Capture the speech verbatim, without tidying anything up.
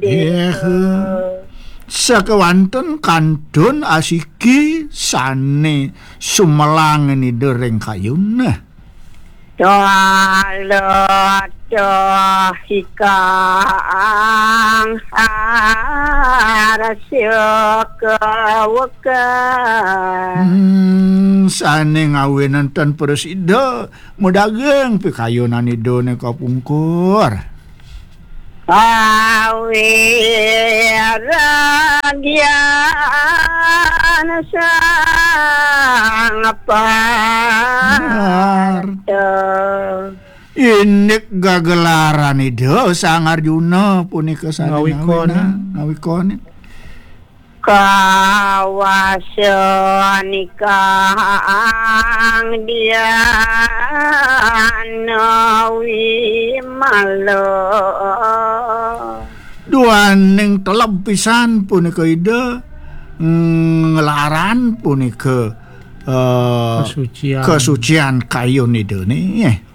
Nggih. Sakewanten kantun asiki sane sumelang Ida ring kayun. Twala toh ikang arsya kawekah. Hmm, sane ngawinanten prasida, madaging pikayunan Ida nika pungkur. Awiragyan sang Parta. Indik gagelaran Ida Sang Arjuna punika sane ngawikonin. Ngawikonin. Kawasa nikang Diana Wimala. Duaning teleb pisan punika Ida nglaran punika, eh, kesucian, kesucian kayun Ida nggih.